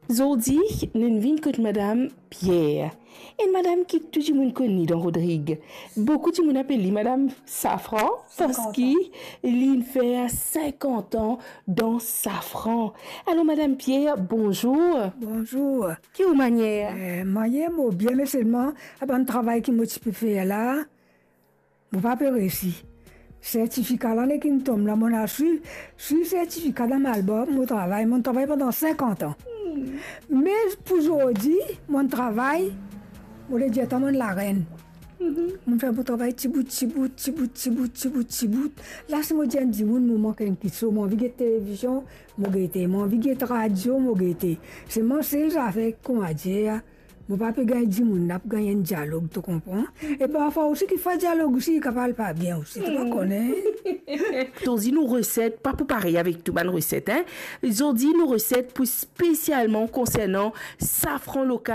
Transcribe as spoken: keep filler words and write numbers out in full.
Zordi, nou vinn kot Madam Pierre. Enn madam ki tou dimoun kone dan Rodrig. Boukou dimoun apel li Madam Safran, parski li fer sinkant an dan safran. Alor, Madam Pierre, bonzour. Bonzour. Ki ou manier? Eh, manier mo bien, me selman, a bann travay ki mo ti pe fer la, mo pa pe resi. Sertifika la nekin tom la, mo ena swi, swi sertifika dan mo albom, mo travay, mo travay pandan sinkant an. Me pou zordi, mo travay, mo le dir twa mo larenn. Mo fer mo travay tibout, tibout, tibout, tibout, tibout, tibout. La, si mo dir enn dimoun mo mank enn kiksoz, mo anvi get televizion, mo gete, mo anvi get radio, mo gete. Selman sel zafer, kouma dir, mo pa pe gagn dimoun la pou gagn enn dialog, to konpran? E parfwa osi, kifer dialog osi, li kapav pa bien osi, to pa kone. Zordi nou reset pa pou parey avek tou bann reset, hein. Zordi nou reset pou spesialman konsernan safran lokal.